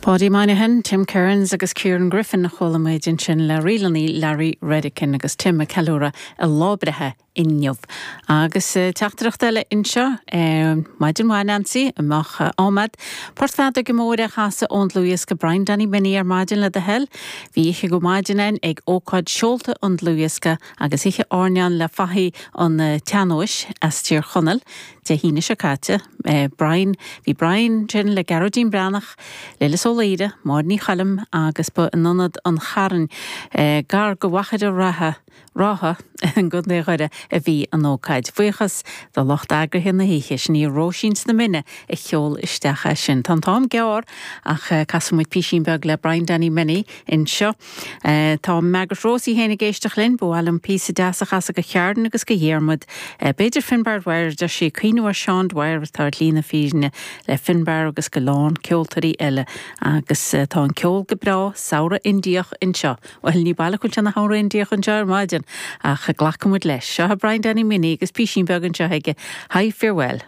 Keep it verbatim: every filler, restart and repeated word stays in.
Paudie Moynihan, Tim Kearns agus Kieran Griffin chuala muid ansin le ríleanna Larry Redican agus Tim ag ceiliúradh a lá breithe inniu. Agus eh, teachtaireacht eile anseo eh, Maidin mhaith Nancy amach eh, ámad. Port feadóige mór a chasadh ón dlúthdhiosca Brian Danny Minnie ar maidin le do thoil, Bhí oíche go maidin ann ag ócáid seolta an dlúthdhiosca agus oíche airneáin le fathaigh an tsean-nóis as Tír Chonaill Dé hAoine seo caite. Brian bhí Brian sin le Gearóidín Breathnach, Lillis Ó Laoire, Máire Ní Choilm agus ba in ionad an Chairn gar go Mhachaire Rátha Rátha i gContae Dhoire a bhí an ócáid. Buíochas do lucht eagraithe na hoíche sin í Róisín sna Mine a sheol isteach é sin. Tá an t-am gearr ach casfaidh muid píosín beag le Brian Danny Minnie anseo. Tá Margaret Rosie féin ag éisteacht linn, ba mhaith liom píosa deas a chasadh go Chearn agus go Dhiarmuid. B'fhéidir Finbar Dwyer deir sí cuimhniú ar Seán Dwyer atá ar shlí na fírinne le Finbar agus go lán ceoltóirí eile agus tá an ceol go breá samhradh Indiach anseo. Well ní baileach se na hamhráin Indiach anseo ar maidin ach glacfaimid leis. Seo Brian Danny Minnie agus píosín beag anseo aige. Hi farewell.